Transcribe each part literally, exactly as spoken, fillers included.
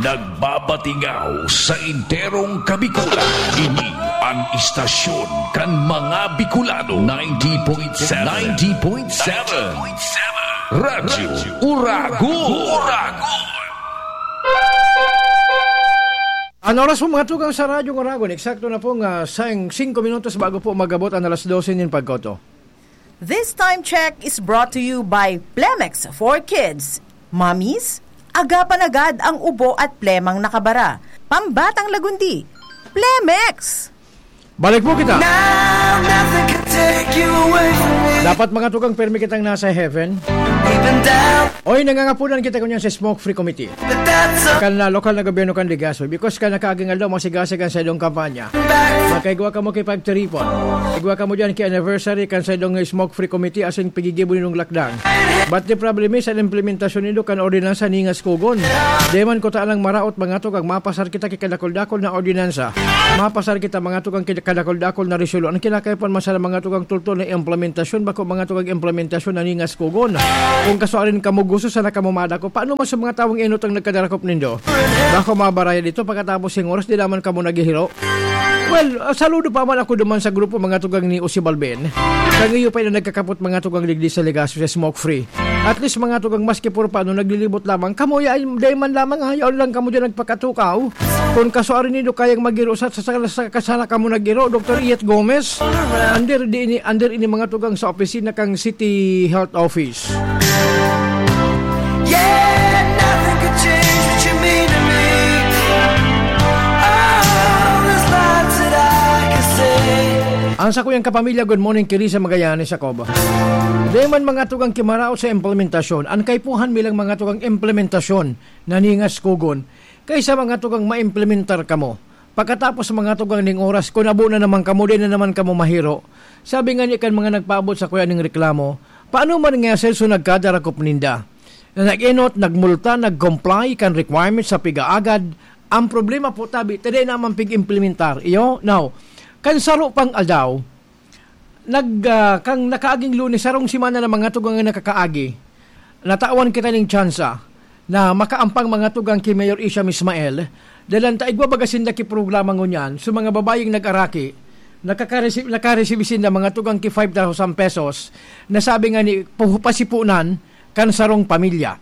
Nagbabatingaw sa enterong Kabikulan. Ini an istasyon kan mga Bicolano, ninety point seven. Ninety point seven. Radyo Uragon. Uragon. An oras po, mga tugang, sa Radyo Uragon, eksakto na pong, ah, sing-, singko minutos bago po mag-abot an alas dose nin pagkoto. This time check is brought to you by Plemex for Kids. Mommies, agapan agad ang ubo at plemang nakabara. Pambatang lagundi, Plemex! Balik po kita. Now, nothing can take you away from me. Dapat, mga tugang, pirmi kitang nasa heaven. Even down. Oy, nangangapunan kita ngunyan sa Smoke Free Committee. Kan, ah, lokal na gobyerno kan Legazpi, because kan nakaaging aldaw, masigasig an saindong kampanya. Makaigwa kamo ki pagtiripon. Igwa kamo diyan ki anniversary kan saindong Smoke Free Committee asin pigigibo nindong lakdang. But the problem is, an implementasyon nindo kan ordinansa ningas kugon. Di man kuta lang maraot, mga tugang, mapasar kita ki kadakol-dakol na ordinansa. Mapasar kita, mga tugang, ki kadakol-dakol na resolution. An kinakaipuhan man sana, mga tugang, tultol na implementasyon, bako, mga tugang, implementasyon na ningas kugon. Kung kasuarin kamo gusto sana kamo madakop, paano man sa mga tawong enot ang nagkadarakop nindo? Bako mabaraya dito, pagkatapos sing oras, di naman kamo naghihiro. Well, ah, saludo pa man ako duman sa grupo, mga tugang, ni Usi Balben. Kan iyo pa na nagkakapot, mga tugang, digdi sa Legazpi sa Smoke Free. At least, mga tugang, maski puro paano naglilibot lamang, kamo, ya-, dai man lamang, ha, yaon lang kamo diyan nagpakatukaw. Kung kasuarin nindo kayang mag-iro sa, sa, sa, sa kasala kamo nag-iro, Doktor Iyet Gomez, under di ini, under ini, mga tugang, sa opisina kang City Health Office. Yeah, nothing could change what you mean to me. Oh, there's lots that I can say. Ang sakuyang kapamilya, good morning, Kirisa Magallanes, Jacob. Di man, mga tugang, kimaraot sa implementasyon. An kaipuhan mi lang, mga tugang, implementasyon na ningas kugon. Kaysa, mga tugang, maimplementar kamo. Pagkatapos, mga tugang, ning oras, kun abo na naman kamo, di na naman kamo mahiro. Sabi nga ni kan mga nagpaabot sakuya ning reklamo, paano man nga sa iso nagkadarakop ninda? Na nag-enot, nagmulta, nag-comply kan requirements sa pigaagad, ang problema po tabi, ta dai naman pig-implementar. Iyo? Now, kan saro pang aldaw, nag, ah, kang nakaaging Lunes, sarong semana na, mga tugang, ang nakakaagi. Natawan kita ning tsansa na makaampang, mga tugang, ki Mayor Isham Ismael, dalan ta igwa baga sinda ki programa ngunyan, so mga babayeng nag-araki, nakakaresi-, nakaresibi sinda, mga tugang, ki five thousand pesos, na sabi nga ni, puhu-, pasipunan kan sarong pamilya.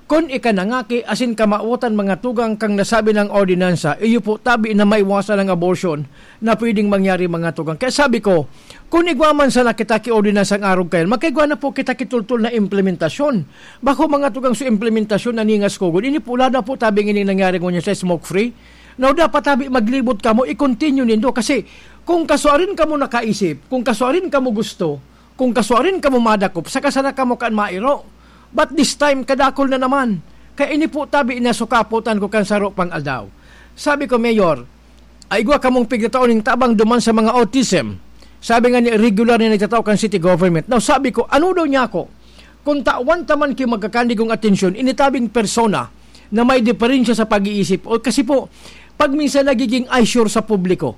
Kun ika nangaki asin kamawotan, mga tugang, kang nasabi nang ordinansa, iyo po tabi na maiwasan ang abortion na pwedeng mangyari, mga tugang. Kaya sabi ko, kun igwa man sana kita ki ordinansang arog kayan, magkaigwa na po kita ki tultol na implementasyon. Bako, mga tugang, so implementasyon na ningas kugon. Ini po, lalo na po tabi ngini nangyari ngunyan sa smoke free. Now, dapat tabi maglibot kamo, i-continue nindo. Kasi kung kasuarin kamo nakaisip, kung kasuarin kamo gusto, kung kasuarin kamo madakop, saka sana kamo kan mairo. But this time, kadakol na naman. Kaya ini po tabi na sukapotan ko kan saro pang aldaw. Sabi ko, "Mayor, ay igwa kamong pigtatao ning tabang duman sa mga autism." Sabi nga ni, regular na nagtatao kan city government. Now, sabi ko, "Ano daw niya ako? Kung tawan ta man ki magkakandigong atensyon, initabing persona na may diferensya sa pag-iisip." O kasi po, pag minsan nagiging eyesore sa publiko,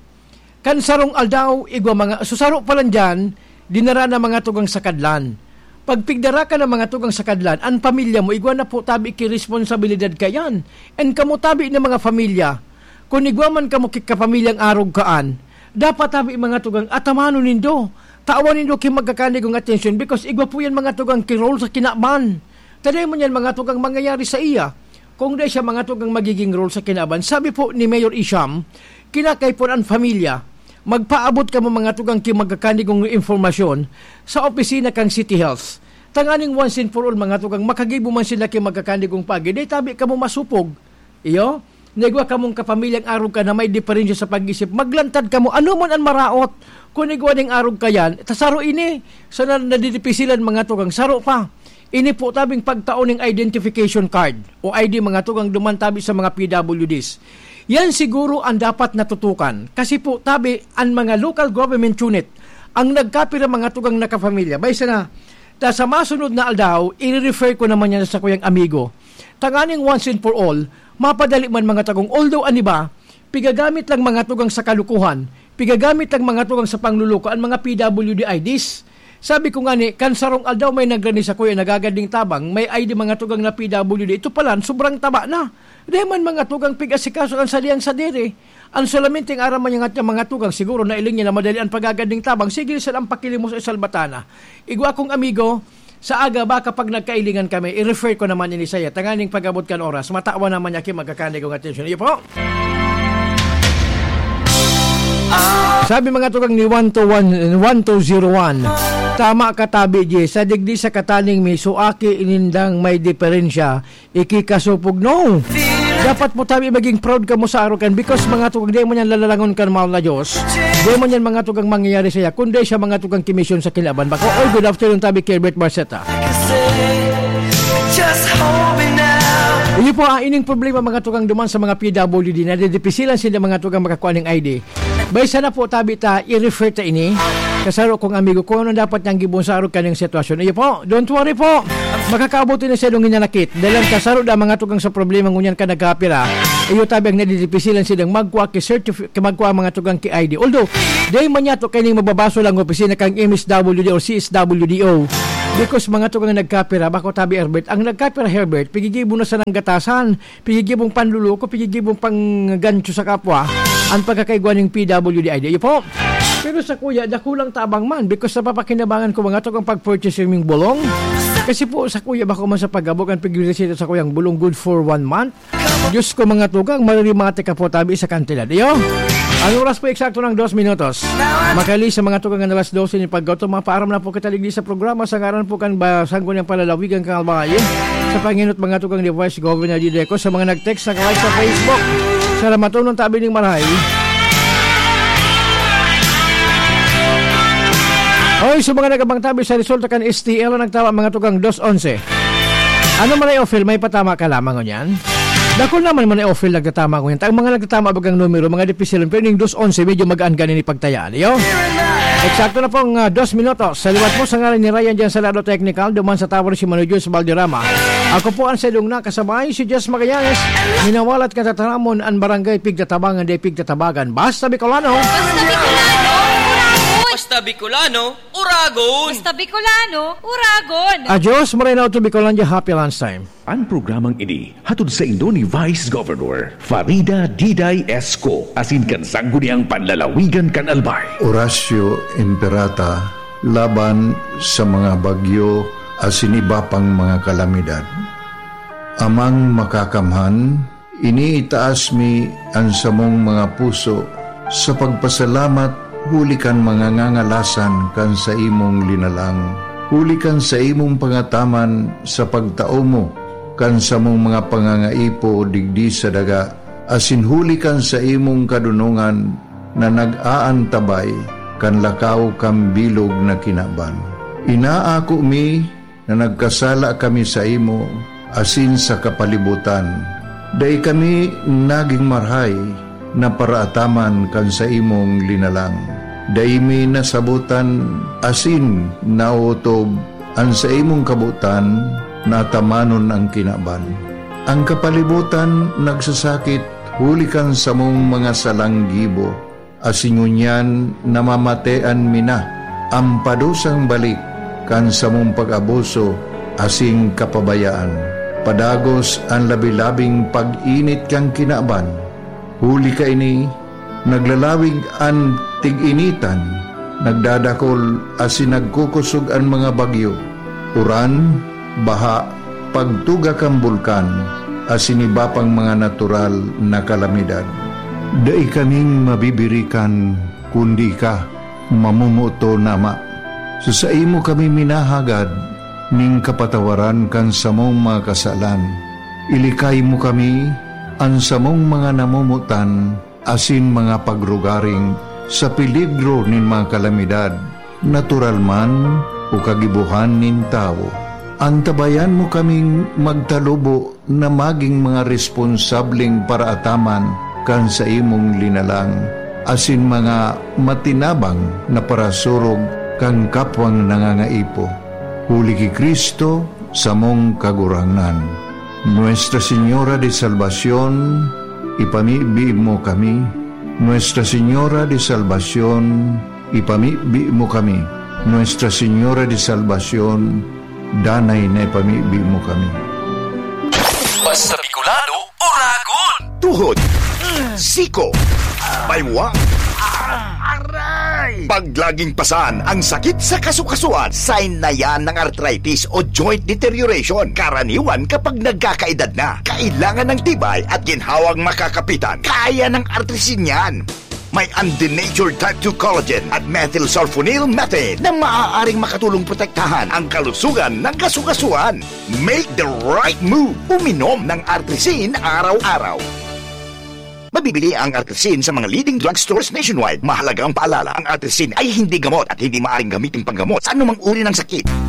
kan sarong aldaw, igwa mga, so saro pa lang dyan, dinara na, mga tugang, sa Kadlan. Pag pigdara ka na, mga tugang, sa Kadlan, an pamilya mo, igwa na po tabi ki responsabilidad kayan. And kamo tabi na mga pamilya, kun igwa man kamo ki kapamilyang arog kaan, dapat tabi, mga tugang, atamanon nindo. Tawan nindo ki magkakandigong atensyon because igwa po yan, mga tugang, ki role sa kinaban. Ta dai man yan, mga tugang, mangyayari sa iya. Kung dai siya, mga tugang, magiging role sa kinaban. Sabi po ni Mayor Isham, kinakaipuhan an pamilya, magpaabot kamo, mga tugang, ki magkakandigong impormasyon sa opisina kan City Health. Tanganing once and for all, mga tugang, makagibo man sila ki magkakandigong paagi, dai tabi kamo masupog. Iyo, naigwa kamong kapamilyang arog ka na may diferensya sa pag-isip, maglantad kamo, ano man an maraot. Kun igwa ning arog ka yan, ta saro ini, sa na-, nadidipisilan, mga tugang, saro pa. Ini po tabing pagtao ning identification card o I D, mga tugang, duman tabi sa mga P W Ds. Yan siguro ang dapat natutukan. Kasi po, tabi, ang mga local government unit ang nagkapira, mga tugang, na kapamilya. Bay sana, ta sa masunod na aldaw, i-refer ko naman yan sa kuyang amigo. Tanganing once and for all, mapadali man, mga tagong. Although, an iba, pigagamit lang, mga tugang, sa kalukuhan, pigagamit lang, mga tugang, sa pangluluko, ang mga P W D I Ds. Sabi ko nga ni, kan sarong aldaw may nagrani sa kuya, nagagad ning tabang, may I D, mga tugang, na P W D. Ito pala, sobrang taba na. Dai man mga tugang pig-asikaso kan saliyang sadiri. An solamente nga aram man niya ngat niya mga tugang, siguro nailing niya na madali an pagagad ning tabang. Sige, sa lang pakilimos sa salbatana. Igwa akong amigo, sa aga ba kapag nagkailingan kami, i-refer ko naman ini saya. Tanganing pag-abot kan oras, matawan naman niya ki magkakanig ang atensyon. Iyo po. Sabi mga tugang ni one two one, one two zero one, "Tama ka, Tabi G. Sa digdi sa kataning may suaki, inindang may diferensya, ikikasupog, no? Dapat mo, Tabi, maging proud ka mo sa arukan, because mga tugang, di mo niyan lalalangon kan mahal na Diyos. Di mo niyan mga tugang mangyayari saya, kundi siya mga tugang kimisyon sa kinaban." Bako, oy, good afternoon, Tabi Kirbert Marceta. Iyo po, ah, ining problema mga tugang duman sa mga P W D, na didipisilan sila mga tugang makakuha ng I D. Bay sana po, Tabi, ta i-refer ta ini. Kasaro kong amigo, kung ano dapat niyang gibon sa arog kaning sitwasyon. Iyo po, don't worry po. Makakaabot ini sa ilong hinanakit. Dahil ang kasaro da mga tugang sa problema ngunyan ka nagkapira. Iyo, Tabi, ang nadidipisilan silang magkuha ki certifi-, ki magkuha mga tugang ki I D. Although, dahil man yato kaining mababaso lang opisina kang M S W D o C S W D O. Because mga tugang nagkapira, bako, Tabi Herbert, ang nagkapira, Herbert, pigigibo na sa nanggatasan. Pigigibong panluloko, pigigibong panggancho sa kapwa, ang pagkakaigwa ning P W D I D. Iyo po. Pero sa kuya, dakulang tabang man, because sa papakinabangan ko mga to kang pag-purchase yung bulong. Kasi po sa kuya, bako man sa pag-abot ang pigresita sa kuyang bulong good for one month. Diyos ko, mga tugang, maririmate ka po, Tabi, sa kantidad. Iyo? Ang oras po eksakto ng dos minutos. Makali sa mga tugang ng alas dose ni pagkauto, mapaaram na po kita digdi sa programa sa ngaran po kan ba, Sangguniang Palalawigan kan Albay. Sa panginot mga tugang ni Vice Governor Dideco, sa mga nag-text sa live sa Facebook. Sa Ramatunon, Tabi ning Maray. Oy, sa mga nagabang, Tabi, sa resulta kan S T L, nagtama mga tugang dos onse. Ano man ay offer, may patama ka lamang ngunyan? Dakul naman man ay offer nagtatama ngunyan. Ang mga nagtatama bagang numero, mga dipisilon, pero ning dos onse, medyo magaan ganin ipagtayaan. Iyo? Eksakto na pong, ah, dos minutos. Sa liwat po, sa ngalan ni Ryan dyan sa Lado Technical, duman sa Tower si Mano Jules Valderrama. Ako po ang sadong nakasabay, si Jess Magallanes. Minawalat ka tataramon, ang barangay pigtatabangan, di pigtatabagan. Basta Bicolano. Basta Bicolano, Uragon! Basta Bicolano, Uragon! Basta Bicolano, Uragon! Adios, Moreno to Bicolandia. Happy lunchtime. An programang ini hatod saindo ni Vice Governor Farida Diday Esco asin kan Sangguniang Panlalawigan kan Albay. Horacio Imperata laban sa mga bagyo asin iba pang mga kalamidad. Amang Makakamhan, iniitaas mi an samong mga puso sa pagpasalamat huli kan mga ngangalasan kan saimong linalang, huli kan saimong pangataman sa pagtao mo kan samong mga pangangaipo digdi sa daga, asin huli kan saimong kadonongan na nag-aantabay kan lakaw kan bilog na kinaban. Inaako mi na nagkasala kami saimo asin sa kapalibotan. Dai kami nagin marahay na paraataman kan saimong linalang. Dai mi nasabotan asin naotob an saimong kabotan na atamanon an kinaban. An kapalibotan nagsasakit huli kan samong mga salang gibo, asin ngunyan namamatean mi na an padusang balik kan samong pag-abuso asin kapabayaan. Padagos an labi-labing pag-init kan kinaban. Huli kaini, naglalawig an tig-initan, nagdadakol asin nagkukosog an mga bagyo, uran, baha, pagtuga kan bulkan, asin iba pang mga natural na kalamidad. Dai kaming mabibirikan, kundi ika, mamomoton na Ama. Sa saimo kami minahagad ning kapatawaran kan samong mga kasalan. Ilikay mo kami, an samong mga namomotan, asin mga pagrugaring sa peligro nin mga kalamidad, natural man o kagibohan nin tawo. Antabayan mo kaming magtalubo na magin mga responsableng paraataman kan saimong linalang, asin mga matinabang na parasurog kan kapwang nangangaipo. Huli ki Cristo, samong Kagurangnan. Nuestra Señora de Salvacion, ipamibi mo kami. Nuestra Señora de Salvacion, ipamibi mo kami. Nuestra Señora de Salvacion, danay na ipamibi mo kami. Basta Bicolano, Tuhod. Siko. Baywa. Aray! Pag laging pasan ang sakit sa kasukasuan, sign na yan ng arthritis o joint deterioration. Karaniwan kapag nagkakaedad na, kailangan ng tibay at ginhawang makakapitan. Kaya ng Artrisin yan. May undenatured type two collagen at methylsulfonyl methane na maaaring makatulong protektahan ang kalusugan ng kasukasuan. Make the right move. Uminom ng Artrisin araw-araw. Mabibili ang Artrisin sa mga leading drugstores nationwide. Mahalaga ang paalala, ang Artrisin ay hindi gamot at hindi maaaring gamitin panggamot sa anumang uri ng sakit.